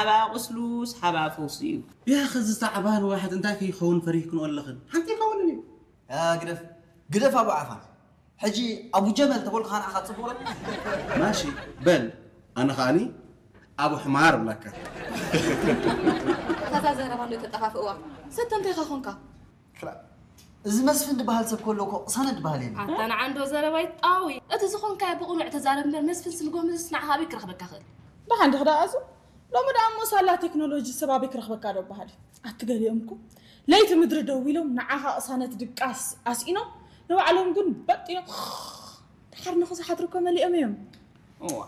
ሓባ ቁስሉስ ሓባ ፈውሱ እዩ። ያኸ እዚ ጻዕባን ዋሕድ እንታይ ከይኸውን ፈሪህክንኦ ኣለኽን? ሓንቲ ይኸውንን እዩ። ግደፍ ግደፍ ኣቡ ዓፋን። ሕጂ ኣቡ ጀመል ተበልኩ ንዓኻ ጽቡቕ ዶ? ማሺ በል ኣነ ከዓኒ ኣቡ ሕማር እብለካ። ከዛ ዘረባ እንዶ ተጠፋፍእዋ። ሰተ እንታይ ኻ ኾንካ? እዚ መስፍን ዝበሃል ሰብ ከሎ እኮ ቅሳነት ዝበሃል የለን። ኣታ ንዓ እንዶ ዘረባ ይጣዊ። እቲ ዝኾንካዮ ብቕኑዕ ተዛረብ እምበር መስፍን ስልጎምዝስ ንዓኻ ኣበይ ክረኽበካ ክእል? ደሓን ዲኺ ደኣ ኣዙ? ሎሚ ደኣ እሞ ሳላ ቴክኖሎጂ ሰብ ኣበይ ክረኽበካ ዶ በሃል እዩ? ኣቲ ገሊኦም እኮ ለይቲ ምድሪ ደው ኢሎም ንዓኻ ቅሳነት ድቃስ ኣስኢኖም ንባዕሎም ግን በጥ ኢሎም ድሓር ንኽዝሓድሩ እኮ መሊኦም እዮም። እዋ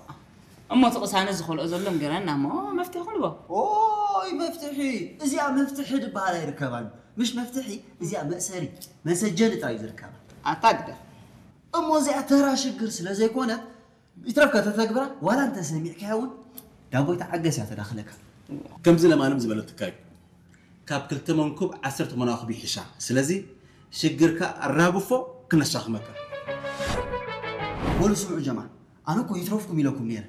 እሞ እቲ ቅሳነት ዝኸልኦ ዘሎ ንገረና እሞ መፍትሒ ክንቦ። ኦይ መፍትሒ እዚኣ መፍትሒ ድበሃል ኣይርከባን ምሽ መፍትሒ እዚኣ መእሰሪ መሰጀኒ ጥራይ ዝርከባ። ኣታ ግደፍ። እሞ እዚኣ ተራ ሽግር ስለ ዘይኮነት ይትረፍካ ተተግብራ ዋላ እንተ ሰሚዕካያ እውን ዳቦይ ተዓገስ እያ ተዳኽለካ። ከምዚ ለማንም ዝበለትካ እዩ። ካብ ክልተ መንኩብ ዓሰርተ መናኹብ ይሕሻ። ስለዚ ሽግርካ ኣራግፎ ክነሻኽመካ። በሉ ስምዑ ጀማዓ፣ ኣነ እኮ ይትረፍኩም ኢለኩም ነይረ።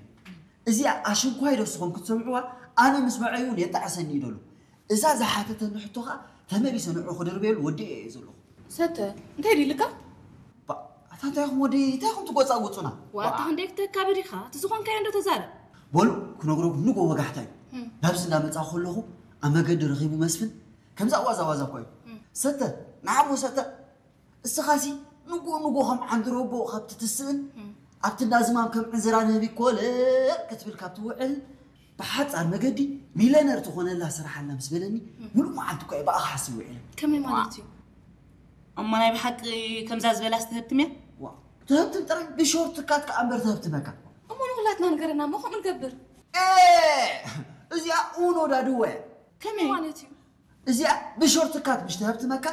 እዚኣ ኣሽንኳይ ዶ ንስኹም ክትሰምዕዋ ኣነ ምስ በዐይ እውን የጣዕሰኒ እዩ ደሎ። እዛ ዝሓተተኒ ሕቶ ኸኣ ተመሊሰ ንዑ ክድርበየሉ ወዲኤ እየ ዘለኹ። ሰተ እንታይ ድዩ ኢልካ? ኣታ እንታይ ኢኹም ወዲ እንታይ ኢኹም ትጎጻጉጹና? ዋታ ክንደይ ክተካብድ ኢኻ እቲ ዝኾንካዮ እንዶ ተዛረብ። በሉ ክነግረኩም ንጎ ወጋሕታ እዩ። ናብዚ እንዳመጻ ከለኹ ኣብ መገዲ ረኺቡ መስፍን ከምዛ ዋዛ ዋዛ እኮ እዩ። ሰተ ንዓሞ ሰተ እስኻሲ ንጎ ንጎ ከም ዓንድሮ ኣቦ ካብ ትትስእን ኣብቲ እንዳ ዝማም ከም ዕንዝራ ንህቢ ኮለል ክትብል ካብ ትውዕል ብሓጻር መገዲ ሚለነር ትኾነላ ስራሕ ኣላ ምስ በለኒ ምሉእ መዓልቲ እኮ እየ ብኣኻ ሓስብ ውዒለ። ከመይ ማለት እዩ? እሞ ናይ ብሓቂ ከምዛ ዝበላ ዝተህብትም እያ? ዋ ትህብትም ጥራይ ብሾርት ካት ከኣ እምበር ትህብትመካ። እሞ ንኹላትና ንገረና እሞ ከምኡ ንገብር። እዚኣ ኡኖ ዳድወ ከመይ ማለት እዩ? እዚኣ ብሾርት ካት ምሽ ትህብትመካ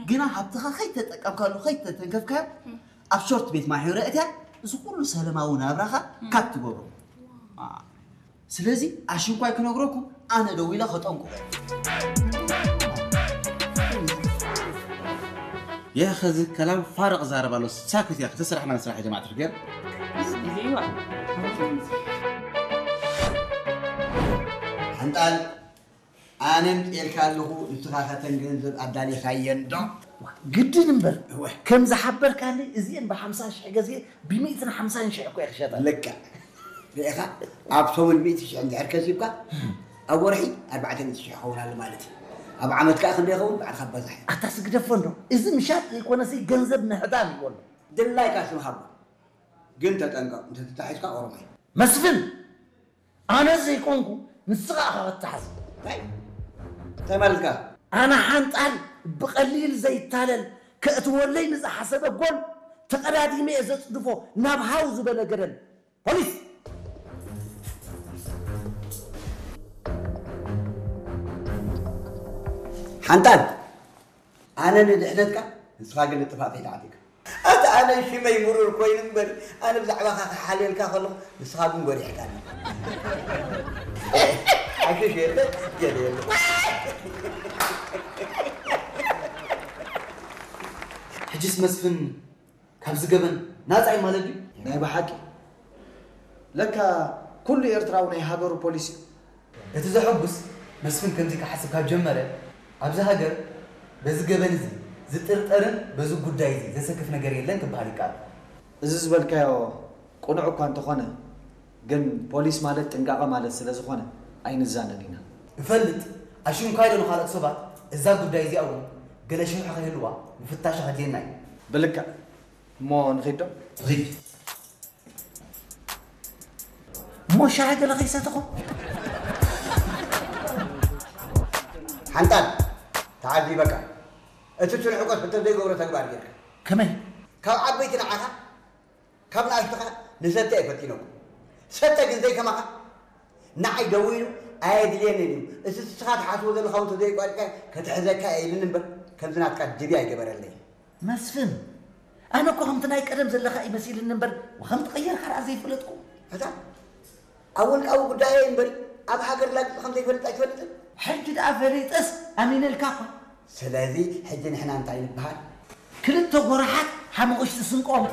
ግና ሃብትኻ ከይተጠቀምካሉ ከይተተንከፍካዮ ኣብ ሾርት ቤት ማሕበረ እትያ እዚ ኩሉ ሰለማዊ ናብራኻ ካት ትገብሮ። ስለዚ ኣሽንኳይ ክነግረኩም ኣነ ደው ኢለ ከጠንቁ። يا خزي كلام فارغ زارب الله ساكت يا اخي تسرح من سرح يا جماعه الخير. ሓንጣል ኣነ ምጤልካ ኣለኹ ንስኻ ከተን ገንዘብ ኣዳሊኻየን ዶ? ግድን እምበር ከም ዝሓበርካኒ እዚአን ብሓምሳ ሽሕ ገዜ ብሚእትን ሓምሳን ሽሕ እኮ እየ ክሸጠን። ልክዕ ርኢኻ ኣብ ሰሙን ሚእቲ ሽሕ እንድሕር ከሲብካ ኣብ ወርሒ ኣርባዕተ ሚእቲ ሽሕ ይኸውን ኣሎ ማለት እዩ። ኣብ ዓመት ከዓ ክንደይ ይኸውን ባዕልኻ ኣባዛሕ። ኣታ ስግደፎ እንዶ እዚ ምሻጥ ዘይኮነሲ ገንዘብ ምህዳም እዩ ኣሎ። ድላይካ ስም ሃቦ ግን ተጠንቀቕ እንተተታሒዝካ ኦሮማይ። መስፍን! ኣነ ዘይኮንኩ ንስኻ ኢኻ ክትሓዝ። እንታይ? እንታይ ማለትካ? ኣነ ሓንጣል ብቐሊል ዘይታለል ከእትወለይ ንዝሓሰበ ጎል ተቐዳዲመ እየ ዘጽድፎ ናብ ሃው ዝበለ ገደል። ፖሊስ! ሓንጣል! ኣነ ንድሕነትካ ንስኻ ግን ንጥፋእተይ ተዓጢቕካ። ኣታ ኣነ ሽመይ ምሩር ኮይኑ እምበር ኣነ ብዛዕባኻ ክሓልየልካ ከለኹ ንስኻ ግን ጎሪሕካኒ። ሓሽሽ የለ ገለ የለ። ሕጅስ መስፍን ካብዚ ገበን ናጻ እዩ ማለት ድዩ? ናይ ብሓቂ ለካ ኩሉ ኤርትራዊ ናይ ሃገሩ ፖሊስ እዩ። እቲ ዘሐጉስ መስፍን ከምዚ ክሓስብ ካብ ጀመረ ኣብዚ ሃገር በዚ ገበን እዚ ዝጥርጠርን በዚ ጉዳይ እዚ ዘሰክፍ ነገር የለን ክበሃል ይከኣል። እዚ ዝበልካዮ ቅኑዕ እኳ እንተኾነ ግን ፖሊስ ማለት ጥንቃቐ ማለት ስለዝኾነ ኣይንዛነን ኢና። እፈልጥ ኣሽንኳይ ዶ ንኻልኦት ሰባት እዛ ጉዳይ እዚኣ እውን ገለ ሽርሒ ከይህልዋ ምፍታሽ ከድልየና እዩ። ብልክዕ እሞ ንኺድ ዶ? ኺድ። እሞ ሻሂ ገለ ከይሰተኹም? ሓንጣል ተዓዚበካ እቲ ትንዕቆ ሕቶ ዘይገብሮ ተግባር ጌርካ ከመይ? ካብ ዓበይቲ ንዓኻ ካብ ንኣሽቱ ኸኣ ንሰተ እየ ፈቲነኩም ሰተ ግን ዘይከማኻ ንዓይ ደዊሉ ኣየድልየንን እዩ እቲ ንስኻ ትሓስቦ ዘለኻ እውን ተዘይቋሪጽካ ከተሕዘካ እየ ኢልኒ እምበር ከምዚ ናትካ ድብያ ኣይገበረለይን። መስፍን፣ ኣነ እኮ ከምቲ ናይ ቀደም ዘለኻ እዩ መሲልኒ እምበር ወኸም ትቐየርካ ደኣ ዘይፈለጥኩ። ኣታ ኣብ ውልቃዊ ጉዳየይ እምበር ኣብ ሃገር ላግጺ ከም ዘይፈልጥ ኣይትፈልጥን? ሕጂ ደኣ ፈሊጠስ ኣሚነልካ እኳ። ስለዚ ሕጂ ንሕና እንታይ ንበሃል? ክልተ ጎራሓት ሓሙቕሽቲ ስንቆም።